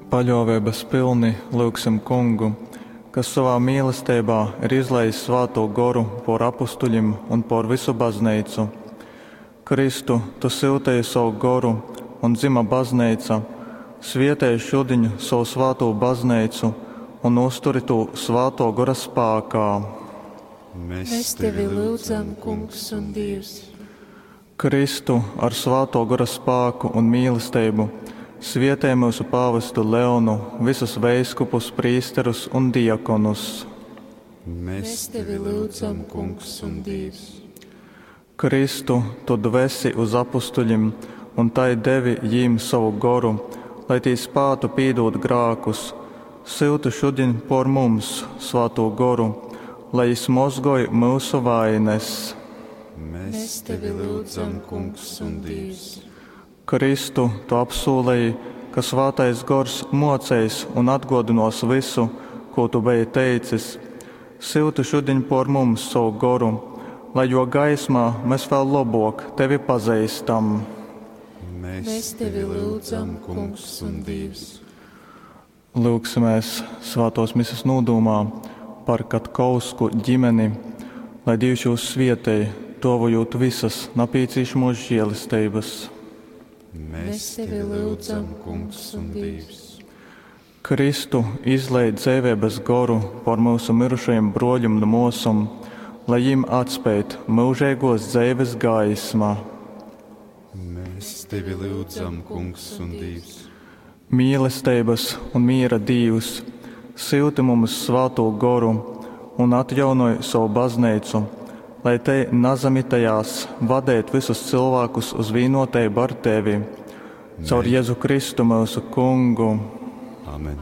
Paļōveibas pylni lyugsim Kungu, kas sovā mīlesteibā ir izlējis Svātū Goru pōr apustuļim un pōr vysu Bazneicu. Kristu, tu syuteji sovu Goru, un dzyma Bazneica, svietej šudiņ sovu svātū Bazneicu un uzturi tū Svātō Gora spākā. Mes Mēs tevi lyudzam, Kungs un Dīvs. Kristu, ar Svātō Gora spāku un mīlesteibu svietej myusu pāvestu Leonu, vysus veiskupus, prīsterus un diakonus. Mēs Mēs tevi lyudzam, Kungs un Dīvs. Kristu, tu dvesi uz apustuļim un tai devi jīm sovu Goru, lai tī spātu pīdūt grākus, syuti šudiņ pōr mums Svātū Goru, lai jys mozgoj myusu vaines. Mēs Mēs tevi lyudzam, Kungs un Dīvs. Kristu, tu apsūleji, ka Svātais Gors mōceis un atgōdynōs vysu, kū tu beji teicis, syuti šudiņ pōr mums sovu Goru, lai jō gaismā mes vēl lobōk tevi pazeistam. Mēs Mēs tevi lyudzam, Kungs un Dīvs. Lyugsimēs svātōs mises nūdūmā par Katkovsku ģimeni, lai Dīvs jūs svietej, dōvojūt vysas napīcīšamōs žēlesteibas. Mēs tevi lyudzam, Kungs un Dīvs. Kristu, izlej dzeiveibas goru pōr myusu myrušajim brōļim un mōsom, lai jim atspeid myužeigōs dzeives gaisma. Mēs tevi lyudzam, Kungs un Dīvs. Mīlesteibas un mīra Dīvs, syuti mums Svātū Goru un atjaunoj sovu Bazneicu, lai tei nazamitejās vadeit vysus cylvākus uz vīnōteibu ar tevi. Caur Jezu Kristu myusu Kungu. Amen.